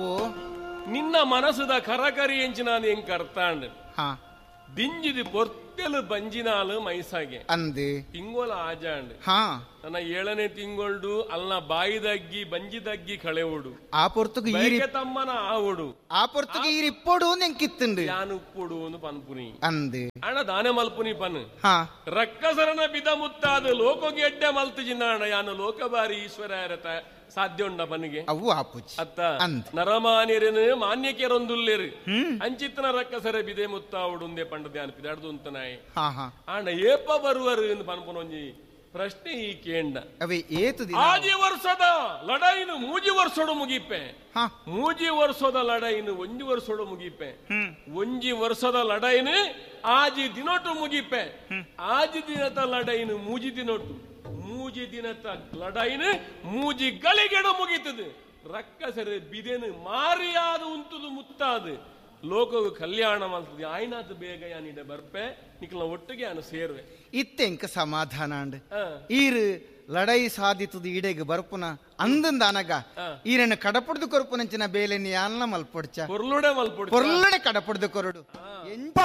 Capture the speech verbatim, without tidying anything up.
ಓ ನಿನ್ನ ಮನಸ್ಸುದ ಕರಕರಿ ಎಂಚಿನ ಎಂಕ್ ಅರ್ತಾಂಡ್ ಹಾ ದಿಂಜಿದಿ ಪೊರ್ತೆಲು ಬಂಜಿನಾಲು ಮೈಸಾಗೆ ಅಂದ್ ತಿಂಗೋಲ ಆಜಾಂಡ್ ಹಾ ನನ್ನ ಏಳನೇ ತಿಂಗೊಳ್ಡು ಅಲ್ನ ಬಾಯಿದಗ್ಗಿ ಬಂಜಿದಗ್ಗಿ ಕಳೆವುಡು ಆ ಪೊರ್ತುಗು ಈರಿ ಬಯಕೆ ತಮ್ಮನ ಆವುಡು ಆ ಪೊರ್ತುಗು ಈರಿ ಇಪ್ಪೊಡು ನೆಂಕಿತ್ತುಂಡು ಯಾನು ಉಪ್ಪುಡು ಒಂದು ಪನ್ಪುನಿ ಅಂದ್ ಅಣ್ಣ ದಾನೆ ಮಲ್ಪುನಿ ಪನ್ ಹಾ ರಕ್ಕಸರನ ಬಿದ ಮುತ್ತಾದ ಲೋಕೋಗೆ ಎಡ್ಡೆ ಮಲ್ತು ಜಿನ್ನಾಣ ಯಾನು ಲೋಕಬಾರಿ ಈಶ್ವರ ಸಾಧ್ಯ ಉಂಡ ಪನಿಗೆ ಅವು ಆಪುಜಿ ಅತ್ತ ಅಂದ್. ನರಮಾನ್ಯರನು ಮಾನ್ಯಕೆರೊಂದುಲ್ಲೇರು ಅಂಚಿತ್ತನ ರಕ್ಕಸರ ಬಿದೆ ಮುತ್ತಾವುಡುಂದೆ ಪಂಡ ಧ್ಯಾನ ಪಿದಾಡ್ದು ಉಂತನಾಯಿ ಹಾ ಹಾ ಆಂಡ ಏಪ ಬರುವರು ಎಂದು ಪನ್ಪುನೊಂಜಿ ಪ್ರಶ್ನೆ ಈ ಕೇಂಡ ಅವೇ ಏತು ದಿನ ಆಜಿ ವರ್ಷದ ಲಡಾಯಿನು ಮೂಜಿ ವರ್ಷೋಡು ಮುಗಿಪೆ ಹಾ ಮೂಜಿ ವರ್ಷದ ಲಡಾಯಿನು ಒಂಜಿ ವರ್ಷೋಡು ಮುಗಿಪೆ ಒಂಜಿ ವರ್ಷದ ಲಡಾಯಿನು ಆಜಿ ದಿನೊಟು ಮುಗಿಪೆ ಆಜಿ ದಿನದ ಲಡಾಯಿನು ಮೂಜಿ ದಿನೊಟು ಮೂಜಿ ದಿನದ ಲಡಾಯಿನು ಮೂಜಿ ಗಳಿಗೆಡು ಮುಗೀತದೆ ರಕ್ಕಸರೆ ಬಿದೆನು ಮಾರಿಯಾದ ಉಂತುದು ಮುತ್ತಾದು ಲೋಕವು ಕಲ್ಯಾಣ ಮಾಡ್ತದೆ ಆಯ್ನಾತು ಬೇಗ ಯಾನಿಡೆ ಬರ್ಪೆ ನಿಕ್ಲ ಒಟ್ಟಿಗೆ ಯಾನು ಸೇರುವೆ ಇತ್ತೆಂಕ ಸಮಾಧಾನ ಅಂಡ್ ಆ. ಈರು ಲಡೈ ಸಾಧಿತದ ಈಡೆಗ್ ಬರ್ಪುನ ಅಂದಂದ ಅನಗ ಈರನ್ನ ಕಡಪುಡ್ದು ಕೊರ್ಪುನಂಚಿನ ಬೇಲೆನಿ ಯಾನ್ನ ಮಲ್ಪೊಡ್ಚ ಕೊರ್ಲುಡೆ ಮಲ್ಪೊಡು ಪೊರ್ಲುಡೆ ಕಡಪುಡ್ದು ಕೊರಡು ಎಂಚ